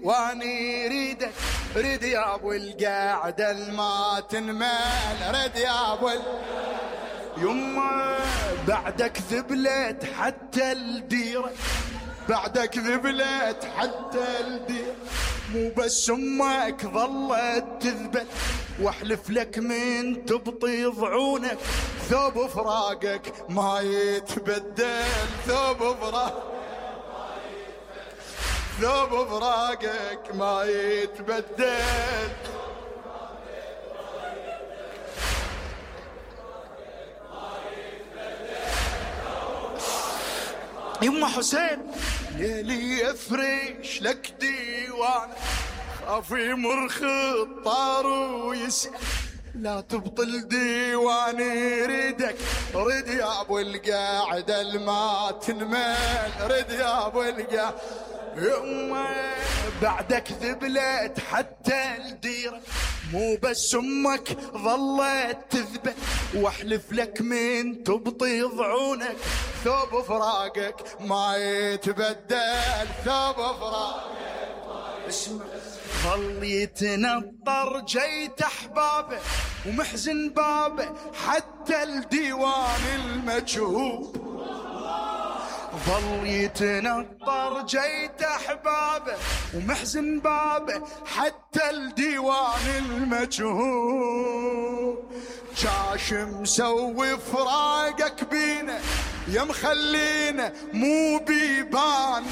واني ريدك ريد يا ابو القعده الما تنمل ريد يا ابو يما بعدك ذبلت حتى الديره بعدك ذبلت حتى الديره مو بس امك ظلت تذبل واحلف لك من تبطي ضعونك ثوب فراقك ما يتبدل ثوب فراقك ما يتبدل يما حسين ليلي يفرش لك ديوان خافي مرخط طار ويسأل لا تبطل ديواني ريدك ريد يا ابو القاعده الما تنمل ريد يا ابو القاعده يما بعدك ذبلت حتى الديره مو بس امك ظلت تذبل واحلف لك من تبطي ضعونك ثوب فراقك ما يتبدل ثوب فراقك اسمع ظل يتنطر جيت احبابه ومحزن بابه حتى الديوان المجهول ظل يتنطر جيت احبابه ومحزن بابه حتى الديوان المجهول جاش مسوي فراقك بينا يا مخلينا مو بيبان